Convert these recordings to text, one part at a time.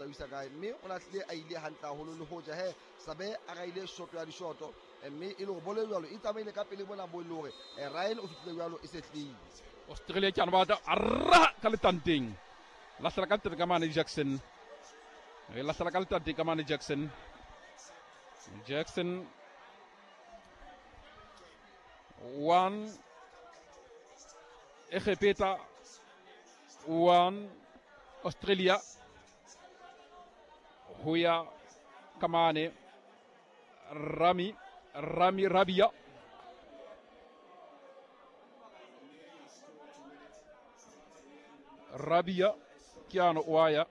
tla o isa kae. Mme o lahlile a ile hantle haholo le hoja he Sabe a raile shoto ya dishoto, mme e le hore bolo e jwalo e tsamaile ka pele mona bo e le hore Ryan o fihlile jwalo e se tlile. Australia ke ana ba tla ra ka letanteng. Lahlela ka letanteng ka mane Jackson. Re lahlela ka letanteng ka mane Jackson. Jackson 1 Egepeta 1 Australia ho ya ka mane Rami Rabia. Rabia ke ano wa ya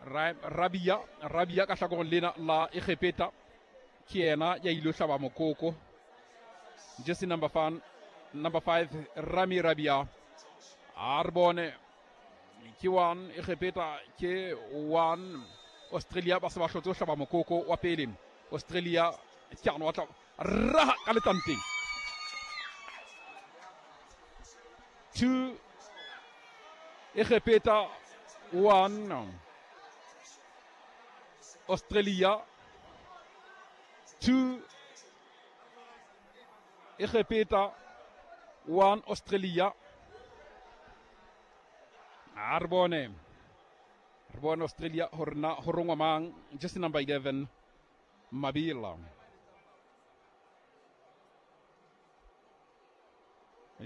Rabia ka hlakoreng lena la Egepeta ke yena ya ile hlaba mokoko. Jersey number 5 Rami Rabia. A re bone ke 1 Egepeta ke 1 Australia. Ba se ba hlotse ho hlaba mokoko wa pele. Australia ke ano wa tla raha ka letanteng. 2 Egepeta 1 Australia. 2 Egepeta 1 Australia. A re bone Australia hore na ho rongwa mang. Jersey number 11 Mabila.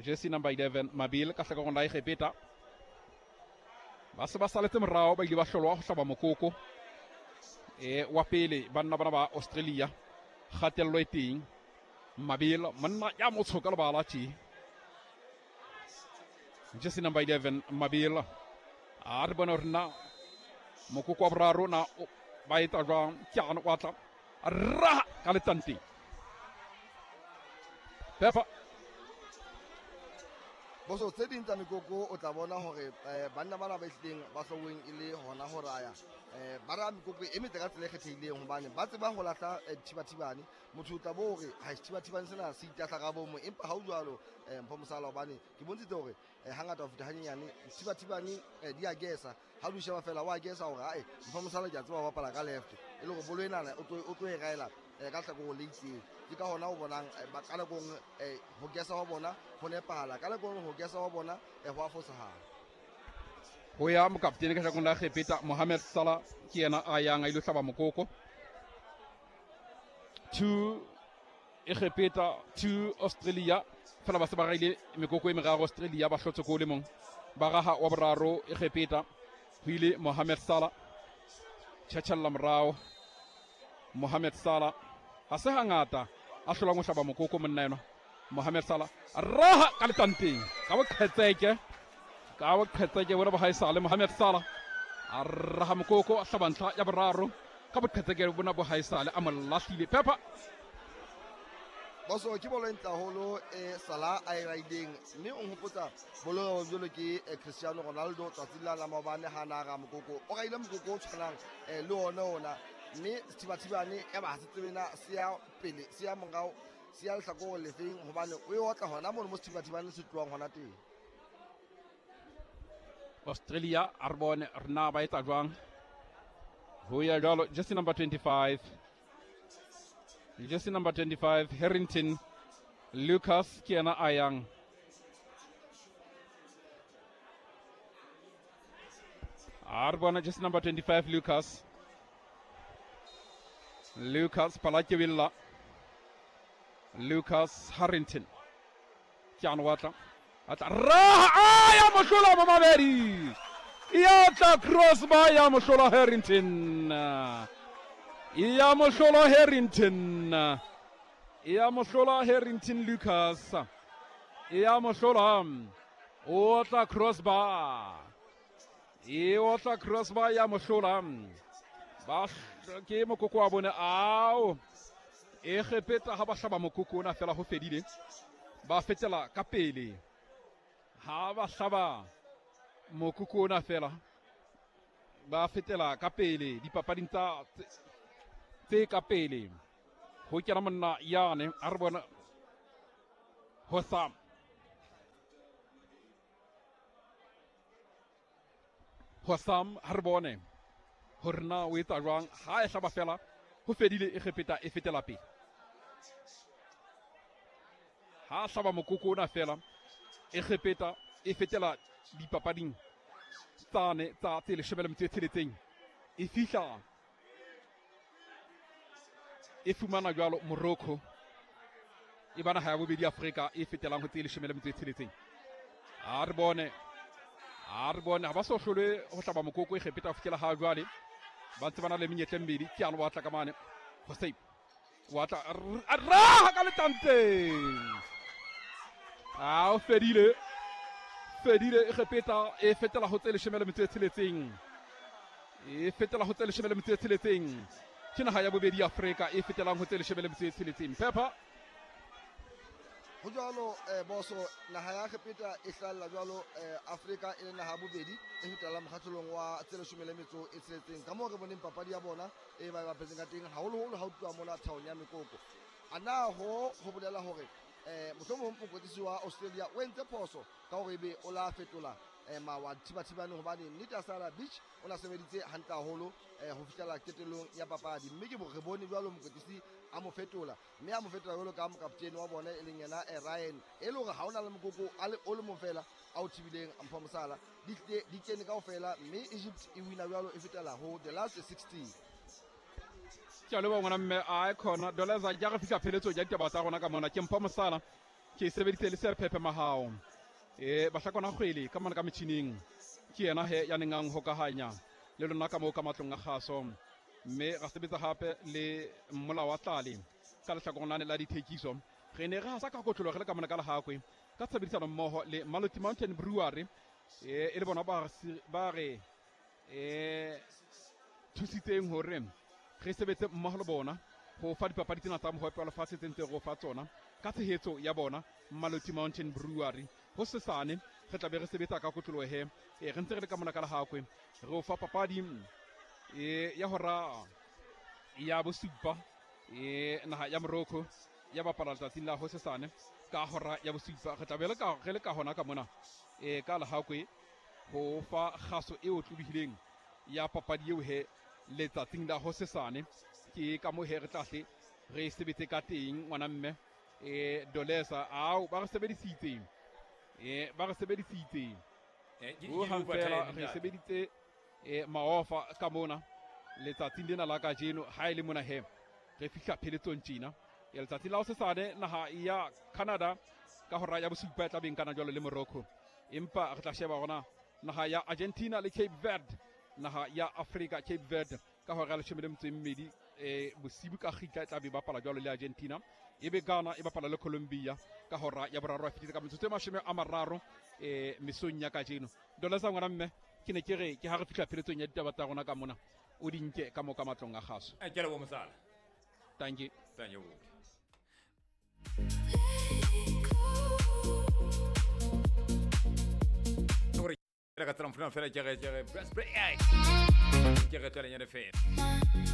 Jersey number 11 Mabil ka hlakoreng la Egepeta. Ba se ba saletse morao, ba ile ba hlolwa ho hlaba mokoko wa pele banna bana ba Australia. Kgatello e teng. Mabil monna ya motsho ka lebala tje. Jersey number 11 Mabil. A re bone hore na mokoko wa boraro na ba etsa jwang. Ke ano wa tla raha ka letanteng. Pepa Boso tse ding tsa mekoko o tla bona hore banna bana ba ehlileng ba hloweng e le hona ho raya ba raya mekoko e metle ka tsela e kgethehileng, hobane ba tseba ho lahla dithibathibane. Motho o tla bo hore ha sethibathibane sena se itahla ka bomo, empa ha o jwalo Mpho Mosala, hobane ke bontshitse hore hangata ho feta hanyenyane dithibathibane di a gesa. Ha o di sheba fela wa gesa hore ae Mpho Mosala ke a tseba ho bapala ka left, e le hore bolo enana o tlo e raela ka hlakoreng le itseng. Ke ka hona o bonang ka nako nngwe ho gesa wa bona ho nepahala, ka nako nngwe ho gesa wa bona ho a fosahala. Ho ya mokaptene ka hlakoreng la Egepeta Mohamed Salah ke yena a yang a ilo hlaba mokoko. 2 Egepeta 2 Australia. Fela ba se ba raile mekoko e meraro Australia, ba hlotse ko le mong. Ba raha wa boraro Egepeta ho ile Mohamed Salah. Tjhatjhella morao Mohamed Salah. Ha se hangata a hlolang ho hlaba mokoko monna enwa. Mohamed Salah raha ka letanteng ka boqhetseke, ka boqhetseke bona ba haesale. Mohamed Salah a raha mokoko a hlaba ntlha ya boraro ka boqhetseke bona bo haesale, a mo lahlile. Peppa Boso ke bolo e ntle haholo e Salah a e raileng, mme o nhopotsa bolo jwalo ke Cristiano Ronaldo tsatsing la maobane ha na ra mokoko. O raile mokoko o tshwanang le ona, mme sethibathibane ya ba ha se tsebe na se ya pele se ya morao se ya lehlakoreng lefeng, hobane o e otla hona mono mo sethibathibane se tlohang hona teng. Australia a re bone re na ba etsa jwang. Ho ya jwalo jersey number 25. Jersey number 25 Harrington Lucas ke yena a yang. A re bona jersey number 25 Lucas. Lucas Palakewilla. Lucas Harrington. Ke ano wa tla. A tla raha a ya mohlola Mamabedi. Ya tla crossbar ya mohlola Harrington. Ya mohlola Harrington. Ya mohlola Harrington Lucas. Ya mohlola. O tla crossbar. E o tla crossbar ya mohlola. Ba ke mokoko wa bone ao. E kgepetsa ha ba hlaba mokoko ona fela ho fedile. Ba fetela ka pele. Ha ba hlaba mokoko ona fela ba fetela ka pele dipapading tsa tse ka pele. Ho kena monna yane a re bona Hossam. Hossam ha re bone hore na o etsa jwang. Ha e hlaba fela ho fedile, Egepeta e fetela pele. Ha hlaba mokoko ona fela, Egepeta e fetela dipapading tsane tsa tse 16. E fihla e fumana jwalo Morocco, e ba naha ya bobedi Afrika e fetelang ho tse 16. A re bone, a re bone, ha ba so hlolwe ho hlaba mokoko Egepeta ho fihlela ha jwale. Ba ntse ba na le menyetla e mmedi. Ke ano wa tla ka mane Hossein, wa tla a raha ka letanteng. A o fedile, fedile. Egepeta e fetela ho tse 16. E fetela ho tse 16. Ke naha ya bobedi Afrika e fetelang ho tse 16. Pepper. Ho jwalo boso, naha ya Egepeta e hlahella jwalo Afrika e le naha ya bobedi e fetelang mokgahlelong wa tse 16. Ka moo re boneng papadi ya bona e ba bapetseng ka teng, haholoholo ha o tluwa mona thaong ya mekoko. A na ho bolela hore mohlomong mokwetlisi wa Australia o entse phoso ka hore ebe o la fetola mawa thibathibane, hobane nnete Sara Beach o na sebeditse hantle haholo ho fihlela qetellong ya papadi. Mme ke re bone jwalo mokwetlisi a mo fetola, mme a mo fetola jwalo ka mokaptene wa bona e leng yena Ryan, e le hore ha ona le mokoko a le o le mong fela a o thibileng Mpho Mosala. Di kene kaofela, mme Egypt e wina jwalo e fetela ho the last 16. Ke a leboha ngwana mme. A khona Doleza ja re fihla pheletsong ya ditaba tsa rona ka mona. Ke Mpho Mosala, ke sebeditse le Serphephe Mahao. Bahlakwana kgwele ka mona ka metjhining ke yena he ya neng a nhokahanya le lona ka moo ka matlong a kgaso. Mme ra sebetsa hape le Mmola wa Tlale ka lehlakoreng lane la dithekiso. Re ne re hasa ka kotlolo re le ka mona ka Lehakwe ka tshebedisano mmoho le Maloti Mountain Brewery, e le bona ba re thusitseng hore re sebetse mmoho le bona ho fa dipapadi tsena tsa mohope wa lefatshe tse ntse re o fa tsona ka tshehetso ya bona Maloti Mountain Brewery. Ho sesane re tla be re sebetsa ka kotloloho he, re ntse re le ka mona ka Lehakwe re o fa papadi ya hora ya bosupa, naha ya Morocco ya bapala letsatsing la hosesane ka hora ya bosupa. Re tla be re le ka hona ka mona ka Lehakwe ho fa kgaso e otlolohileng ya papadi eo he letsatsing la hosesane. Ke ka moo he re tla hle re sebetse ka teng ngwana mme. Dolesa ao ba re sebedisitse, ba re sebedisitse ho hang fela re sebeditse maofa ka mona letsatsing lena la kajeno. Ha e le mona he re fihla pheletsong tjena ya letsatsi la hosesane, naha ya Canada ka hora ya bosupa e tla beng kana jwalo le Morocco. Empa re tla sheba hona naha ya Argentina le Cape Verde, naha ya Africa Cape Verde ka hora ya 12 bosibu ka kgitla e tla be bapala jwalo le Argentina. Ebe Ghana e bapala le Colombia ka hora ya boraro a fetile ka metsotso e 30 mesong ya kajeno. Dolesa ngwana mme, ke ne ke re ke ha re fihla pheletsong ya ditaba tsa rona ka mona, o di nke ka mo ka matlong a kgaso. Ke a leboha Mosala. Thank you. Thank you. Re ka tsela mfuna fela ke re ke re ke re tsweleng ya fela.